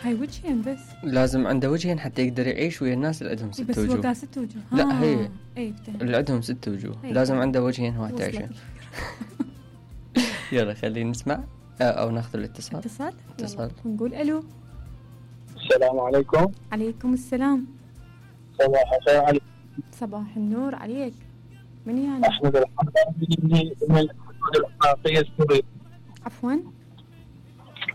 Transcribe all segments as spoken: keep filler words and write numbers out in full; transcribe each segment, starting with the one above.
هاي وجهين بس. لازم عنده وجهين حتى يقدر يعيش ويا الناس اللي عندهم ست بس وجوه. بس هو ست وجوه. لا هي اي اللي عندهم ست وجوه هي. لازم عنده وجهين واحد عشان. يلا خلينا نسمع او ناخذ الاتصال. اتصال اتصال نقول الو. السلام عليكم. عليكم السلام. صباح الخير عليك. صباح النور عليك. من يعني؟ احمد الحمداني من الحدود العراقيه السوريه. عفوا؟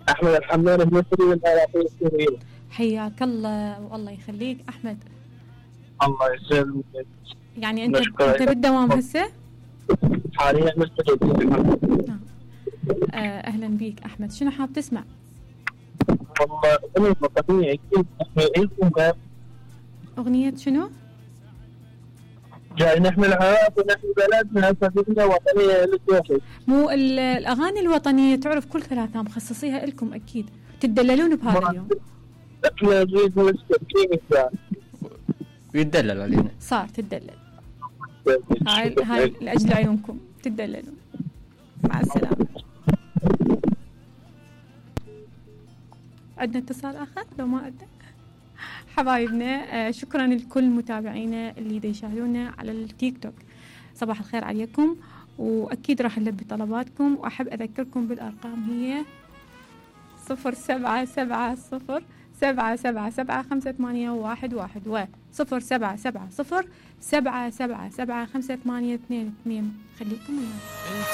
احمد الحمداني من الحدود العراقيه السوريه. حياك الله والله يخليك احمد. الله يسلمك. يعني انت انت بالدوام هسه؟ حاليا مستجد. آه اهلا بيك احمد. شنو حاب تسمع؟ والله اغنيه وطنيه اكيد نحمي اغنيه شنو؟ جاي نحمي العراق ونحمي بلدنا فبدنا وطنيه للدوحي. مو الاغاني الوطنيه تعرف كل ثلاثه مخصصيها لكم اكيد تدللون بهذا اليوم. احنا نريد نستمتع ويتدلل علينا. صار تدلل. هاي هاي لاجل عيونكم تدللون. مع السلامه. عندنا اتصال اخر لو ما عندنا؟ حبايبنا آه شكرا لكل متابعينا اللي دا يشاهدونا على التيك توك. صباح الخير عليكم واكيد راح نلبي طلباتكم واحب اذكركم بالارقام هي صفر سبعة سبعة صفر سبعة سبعة سبعة خمسة ثمانية واحد واحد و صفر سبعة سبعة صفر سبعة سبعة سبعة خمسة ثمانية اثنين اثنين. خليكم ويانا.